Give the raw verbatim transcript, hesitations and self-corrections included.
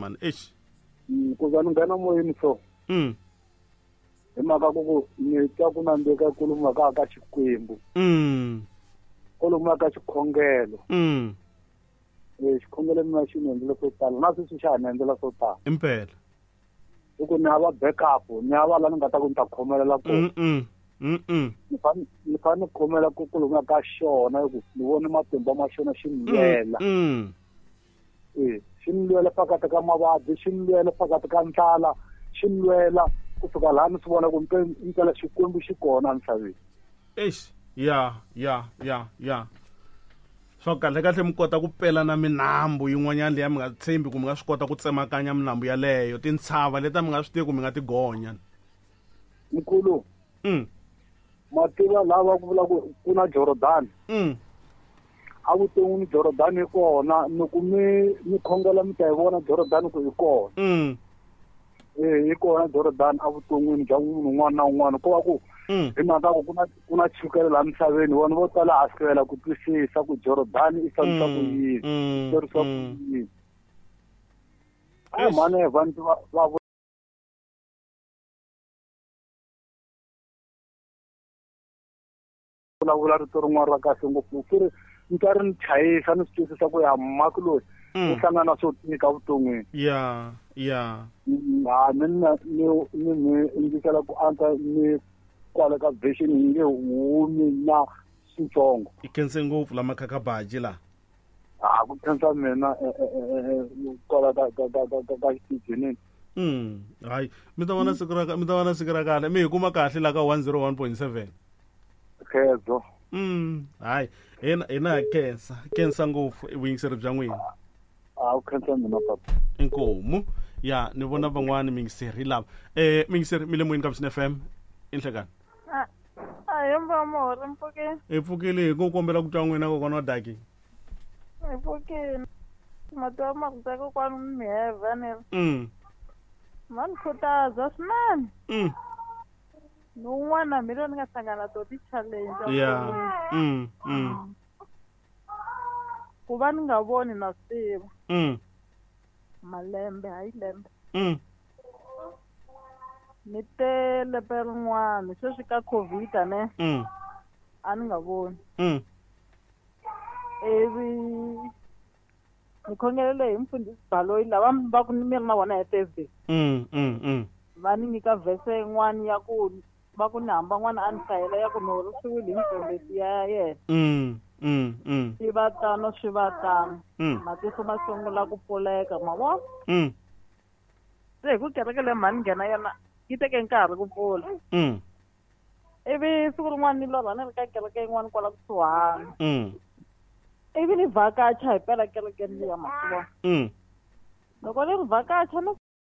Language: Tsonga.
mani eish ku za ni nghena moyeni so mm hi mhaka ku ku ni twa ku nandzika kuluma ka ka Xikwembu mm kuluma ka xikhongelo mm eh xikhongelo mina xi ni endlela swo tala na sweswi xa ha ni endlela swo tala impela hi ku ni hava backup ni hava la ni nga ta ku ni ta khomelela kona mm mm mm ni fane ni fane ni khomela ku kuluma ka xona hi ku ni vone matimba ma xona xi ni lwela mm eh xi ni lwela phakathi ka mavabyi xi ni lwela phakathi ka ndlala xi ni lwela ku fika laha ni swi vona ku mpela Xikwembu xi kona emisaveni eish ya ya ya ya swa kahle kahle mi kota ku pela na minambu yin'wanyana leyi mi nga tshembi ku mi nga swi kota ku tsemakanya minambu yaleyo tintshava leti mi nga swi tivi ku mi nga ti gonya mkhulu mm mativa lava ku vula ku ku na Jordan mm a vuton'wini Jordan yi kona loko mi mi khongela mi ta yi vona Jordan ku yi kona mm eh yi kona Jordan a vuton'wini bya munhu un'wana na un'wana ko va ku hi mhaka ku ku na ku na chukele laha misaveni vanhu vo tala a hlwela ku twisisa ku Jordan i fambisa ku yini mm hlwerisa ku yini a mhani vanhu va va vulavula rito rin'wana ra kahle ngopfu ku ri ni twa ri ni chayisa ni swi twisisa ku ya mhaka loyi u hlangana swo tika vuton'wini ya ya ha ni na ni ni ni indikela ku antswa ni kwala ka version yi nge humi na switsongo i khense ngopfu lama khakhabaji la a ku khensa mina kwala ka ka ka ka ka xitijenini mm hayi mi ta vona siku ra mi ta vona siku ra kahle mi hi kuma kahle la ka one oh one point seven khedzo mm hayi hina hina khensa khensa ngopfu vuyingiseri bya n'wina a ku khensa mina papa inkomu ya ni vona van'wani miyingiseri lava eh miyingiseri mi le moyeni ka Vuxeni F M inhlekani a hi mvamori mpfukeni hi pfukile hi ku kombela ku twa n'wina kokwana wa daki hi pfukile mati wa marito ya kokwani miheva ni mm ma ni khutaza swinene mm ni un'wana mina ni nga hlangana to ti-challenge ya mm mm ku va ni nga voni na swi tiva mm malembe hayi lembe mm ni te lembe rin'wana sweswi ka COVID ne mm a ni nga voni mm ivi ni khongelele hi mfundhisi Baloyi lava va ku mi ri na vona hi Thursday mm mm mm va ni nyika verse yin'wana ya ku va ku ni hamba n'wana a ni hlayela ya ku ni horisiwile hi mfundhisi ya yena mm mm mm swi va tano swi va tano mm matihlo ma sungula ku pfuleka ma vona mm se hi ku kereke leyi mhani nghena yona yi teke nkarhi ku pfula mm ivi siku rin'wana ni lorha ni ri ka kereke yin'wana kwala kusuhani mm ivi ni vhakacha hi pela kerekeni liya ma swi vona mm loko ni ri vhakacha no